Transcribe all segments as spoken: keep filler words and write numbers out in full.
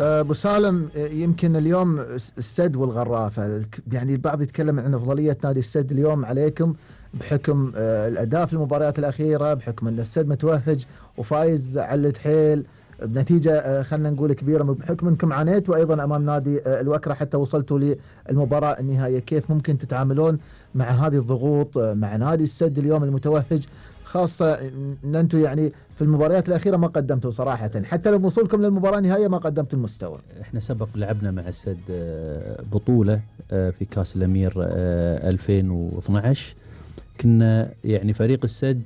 ابو سالم، يمكن اليوم السد والغرافه، يعني البعض يتكلم عن افضليه نادي السد اليوم عليكم بحكم الاداء في المباريات الاخيره، بحكم ان السد متوهج وفايز على التحيل بنتيجه خلينا نقول كبيره، بحكم انكم عانيتوا ايضا امام نادي الوكره حتى وصلتوا للمباراه النهائيه. كيف ممكن تتعاملون مع هذه الضغوط مع نادي السد اليوم المتوهج، خاصة ان انتم يعني في المباريات الاخيرة ما قدمتوا صراحة، حتى لو وصولكم للمباراة النهائية ما قدمتوا المستوى. احنا سبق لعبنا مع السد بطولة في كاس الامير ألفين واثناشر، كنا يعني فريق السد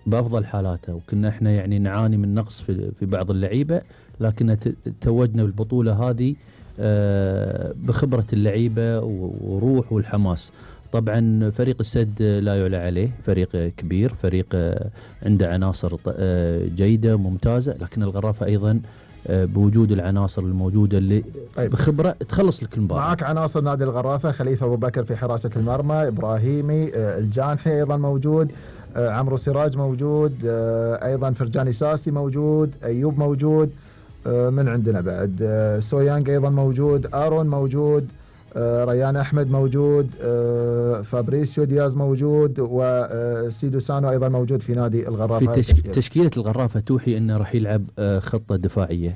بافضل حالاته، وكنا احنا يعني نعاني من نقص في في بعض اللعيبة، لكن توجنا بالبطولة هذه بخبرة اللعيبة وروح والحماس. طبعا فريق السد لا يعلى عليه، فريق كبير، فريق عنده عناصر جيدة ممتازة، لكن الغرافة أيضا بوجود العناصر الموجودة اللي طيب بخبرة تخلص لك المباراة. معك عناصر نادي الغرافة، خليفة أبو بكر في حراسة المرمى، إبراهيمي، الجانحي أيضا موجود، عمرو سراج موجود، أيضا فرجاني ساسي موجود، أيوب موجود، من عندنا بعد سويانج أيضا موجود، آرون موجود، ريان أحمد موجود، فابريسيو دياز موجود، وسيدو سانو أيضا موجود في نادي الغرافة. في تشك... تشكيلة الغرافة توحي أنه راح يلعب خطة دفاعية.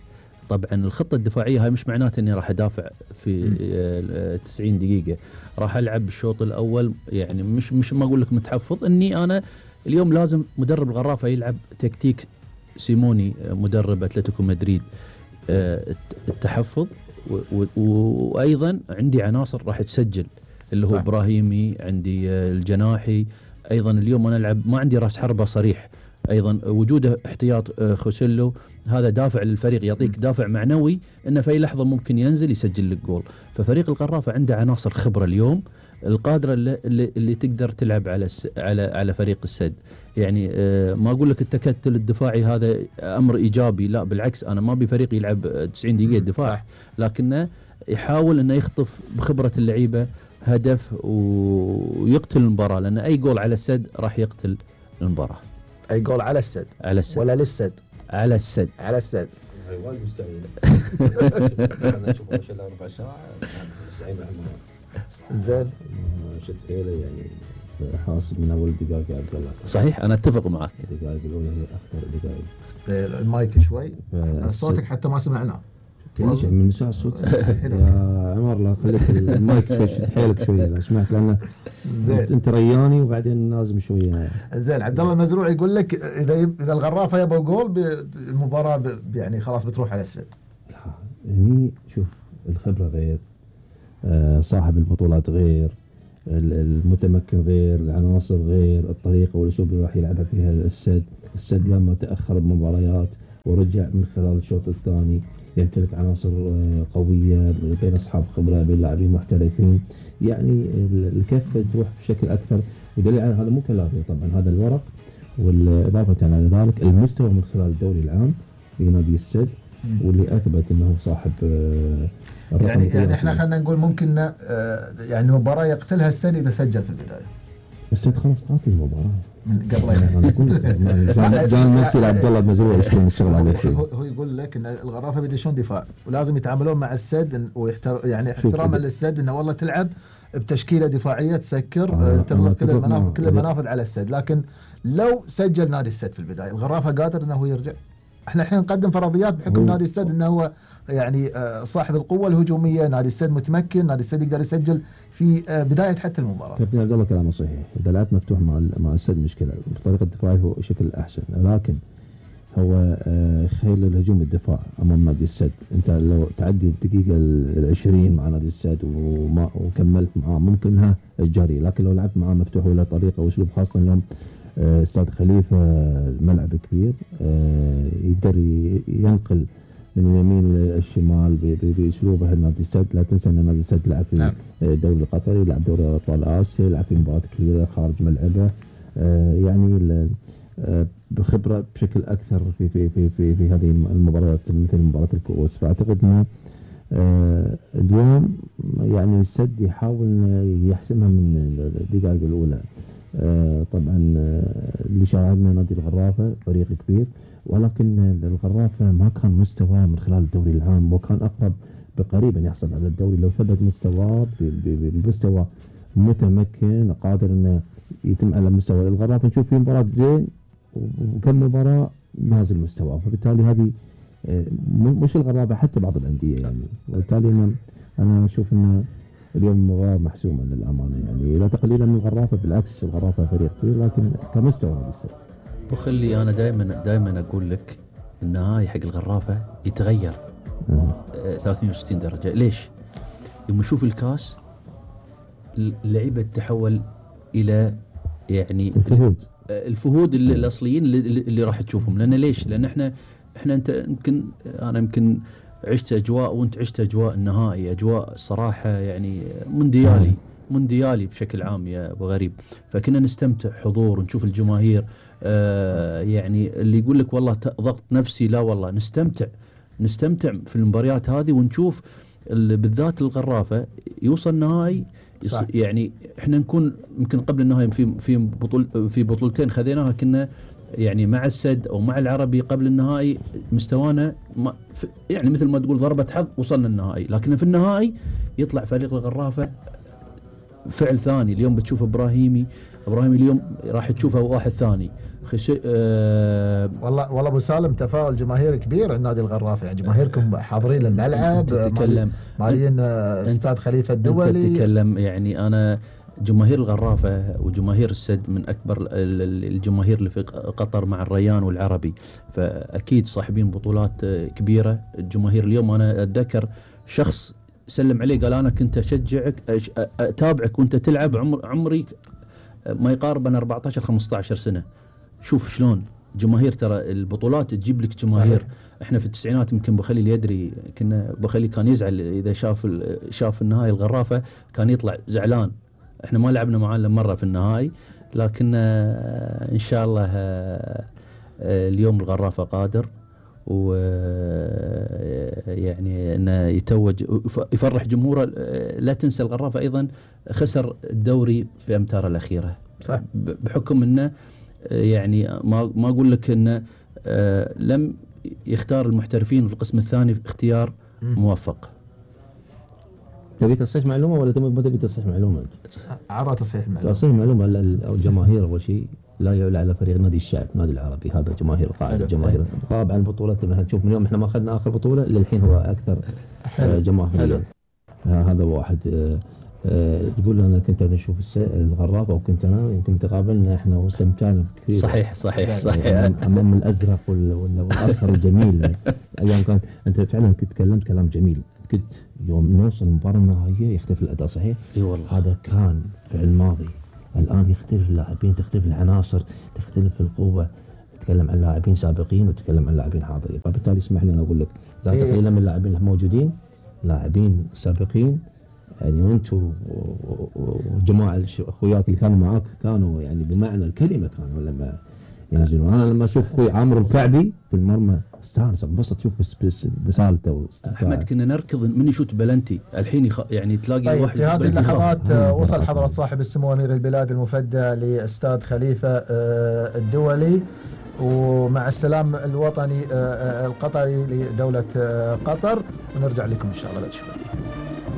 طبعا الخطة الدفاعية هاي مش معناته أني راح أدافع في تسعين دقيقة، راح ألعب بالشوط الأول، يعني مش مش ما أقول لك متحفظ، أني أنا اليوم لازم مدرب الغرافة يلعب تكتيك سيموني مدرب أتلتيكو مدريد، التحفظ، وايضا عندي عناصر راح تسجل اللي هو صح. ابراهيمي، عندي الجناحي ايضا. اليوم انا العب ما عندي راس حربة صريح، ايضا وجوده احتياط خوسيلو، هذا دافع للفريق، يعطيك دافع معنوي انه في اي لحظه ممكن ينزل يسجل لك جول. ففريق الغرافه عنده عناصر خبره اليوم القادره اللي, اللي, اللي تقدر تلعب على على على فريق السد. يعني آه ما اقول لك التكتل الدفاعي هذا امر ايجابي، لا بالعكس، انا ما بفريق يلعب تسعين دقيقه دفاع، لكنه يحاول انه يخطف بخبره اللعيبه هدف ويقتل المباراه، لان اي جول على السد راح يقتل المباراه. اي جول على السد على السد ولا للسد؟ على السد على السد. هاي وايد مستعجله. انا اشوف ما شاء الله ربع ساعه زعيم احمد زين شد حيله، يعني حاسب من اول دقائق يا عبد الله. صحيح، انا اتفق معك، الدقائق الاولى هي اخطر دقائق. المايك شوي صوتك حتى ما سمعناه كل شيء من ساعة الصوت. يا عمر لا خليك المايك شوي، شد حيلك شويه لو سمحت، لان انت رياني وبعدين لازم شويه. زين. عبد الله المزروع يقول لك اذا اذا الغرافه يبغى جول المباراه يعني خلاص بتروح على السد. هني شوف الخبره غير، صاحب البطولات غير، المتمكن غير، العناصر غير، الطريقه والاسلوب اللي راح يلعبها فيها السد. السد لما تاخر بمباريات ورجع من خلال الشوط الثاني يمتلك عناصر قويه بين اصحاب خبره، بين لاعبين محترفين، يعني الكفه تروح بشكل اكثر. ودليل على هذا مو كلامي طبعا، هذا الورق، والاضافه على ذلك المستوى من خلال الدوري العام لنادي السد، واللي اثبت انه صاحب الرقم. يعني يعني احنا خلينا نقول ممكن يعني المباراه يقتلها السد اذا سجل في البدايه. السد خلاص قاتل المباراه من قبل. انا اقول لك جان نفسي لعبد الله المزروع يشتغل الشغل عليه. هو يقول لك ان الغرافه بيدشون دفاع ولازم يتعاملون مع السد ويحتر يعني احتراما للسد، انه والله تلعب بتشكيله دفاعيه تسكر آه تغلق كل المنافذ كل المنافذ على السد. لكن لو سجل نادي السد في البدايه الغرافه قادر انه هو يرجع. احنا الحين نقدم فرضيات بحكم نادي السد انه هو يعني صاحب القوه الهجوميه، نادي السد متمكن، نادي السد يقدر يسجل في بداية حتى المباراة. كابتن عبد الله كلامه صحيح، إذا لعبت مفتوح مع مع السد مشكلة، بطريقة الدفاع هو شكل أحسن، لكن هو خيل الهجوم الدفاع أمام نادي السد. أنت لو تعدي الدقيقة العشرين مع نادي السد وما وكملت معاه ممكنها الجري، لكن لو لعبت معاه مفتوح ولا طريقة وأسلوب، خاصة اليوم استاد خليفة ملعب كبير يقدر ينقل من اليمين الى الشمال باسلوبه نادي السد. لا تنسى ان نادي السد لعب في الدوري القطري، لعب دوري ابطال اسيا، لعب في مباريات كبيره خارج ملعبه، آه يعني آه بخبره بشكل اكثر في في في في, في هذه المباريات مثل مباراه الكؤوس. فاعتقد ان آه اليوم يعني السد يحاول يحسمها من الدقائق الاولى. آه طبعا آه اللي شاهدنا نادي الغرافه فريق كبير ولكن الغرافة ما كان مستوى من خلال الدوري العام، وكان أقرب بقريب أن يحصل على الدوري لو ثبت مستواه بمستوى متمكن قادر أنه يتم على مستوى الغرافة. نشوف في مباراة زين وكم مباراة نازل مستواه، فبالتالي هذه مش الغرابة حتى بعض الأندية يعني. وبالتالي أنا أنا أشوف أن اليوم مباراة محسومة للأمانة يعني، لا تقليلا من الغرافة، بالعكس الغرافة فريق كبير لكن كمستوى هذا السنة. وخلي أنا دائما دائما أقول لك النهائي حق الغرافة يتغير آه. ثلاثمئة وستين درجة. ليش؟ يوم نشوف الكاس اللعيبة تتحول إلى يعني الفهود الفهود الأصليين اللي, اللي راح تشوفهم. لأن ليش؟ لأن إحنا إحنا أنت يمكن أنا يمكن عشت أجواء وأنت عشت أجواء النهائي، أجواء صراحة يعني مونديالي مونديالي بشكل عام يا أبو غريب. فكنا نستمتع حضور ونشوف الجماهير آه يعني اللي يقول لك والله ضغط نفسي، لا والله نستمتع نستمتع في المباريات هذه ونشوف بالذات الغرافة يوصل نهائي. يعني احنا نكون يمكن قبل النهائي في في بطول في بطولتين خذيناها كنا يعني مع السد او مع العربي قبل النهائي مستوانا ما يعني مثل ما تقول ضربة حظ وصلنا النهائي، لكن في النهائي يطلع فريق الغرافة فعل ثاني. اليوم بتشوف ابراهيمي ابراهيمي اليوم راح تشوفه واحد ثاني خشي أه والله والله ابو سالم تفاؤل جماهيري كبير عند نادي الغرافه يعني. جماهيركم حاضرين الملعب، تتكلم مالين استاد خليفه الدولي. تتكلم يعني انا جماهير الغرافه وجماهير السد من اكبر الجماهير اللي في قطر مع الريان والعربي، فاكيد صاحبين بطولات كبيره. الجماهير اليوم انا اتذكر شخص سلم علي قال انا كنت اشجعك اتابعك وانت تلعب عمر عمري ما يقارب أنا أربعة عشر خمسة عشر سنة. شوف شلون جماهير، ترى البطولات تجيب لك جماهير. صحيح. احنا في التسعينات يمكن بخلي يدري كنا بخلي كان يزعل اذا شاف شاف النهائي الغرافة كان يطلع زعلان. احنا ما لعبنا معاه الا مرة في النهائي، لكن ان شاء الله اليوم الغرافة قادر و يعني انه يتوج يفرح جمهوره. لا تنسى الغرافة ايضا خسر الدوري في امتاره الاخيره. صح. بحكم انه يعني ما ما اقول لك انه لم يختار المحترفين في القسم الثاني في اختيار موفق. تبي تصحيح معلومه ولا تبي تبي تصحيح معلومه؟ عطى تصحيح معلومه. تصحيح معلومه الجماهير اول شيء لا يعلى على فريق نادي الشعب نادي العربي، هذا جماهير قاعده جماهير غاب عن بطولات. نشوف من يوم احنا ما اخذنا اخر بطوله للحين هو اكثر جماهيريا. هذا واحد. تقول انا كنت نشوف الغرافه وكنت انا يمكن تقابلنا احنا واستمتعنا كثير. صحيح صحيح صحيح امام الازرق والاصفر الجميل. ايام كان انت فعلا كنت تكلمت كلام جميل. كنت يوم نوصل المباراه النهائيه يختلف الاداء. صحيح. اي والله هذا كان في الماضي. الان يختلف اللاعبين، تختلف العناصر، تختلف القوه. تتكلم عن لاعبين سابقين وتتكلم عن لاعبين حاضرين، فبالتالي اسمح لي انا اقول لك لا تقليلا من اللاعبين الموجودين، لاعبين سابقين يعني. وانتم وجماعه اخوياك اللي كانوا معاك كانوا يعني بمعنى الكلمه كانوا لما ينزلون. انا لما اشوف اخوي عامر الكعبي في المرمى استانس انبسط شوف بس بس بسالته. احمد كنا نركض من يشوت بلنتي الحين يخ... يعني تلاقي طيب واحد في هذه اللحظات آه وصل حضرة صاحب السمو امير البلاد المفدى لاستاد خليفه آه الدولي، ومع السلام الوطني آه القطري لدوله آه قطر، ونرجع لكم ان شاء الله بعد شوي.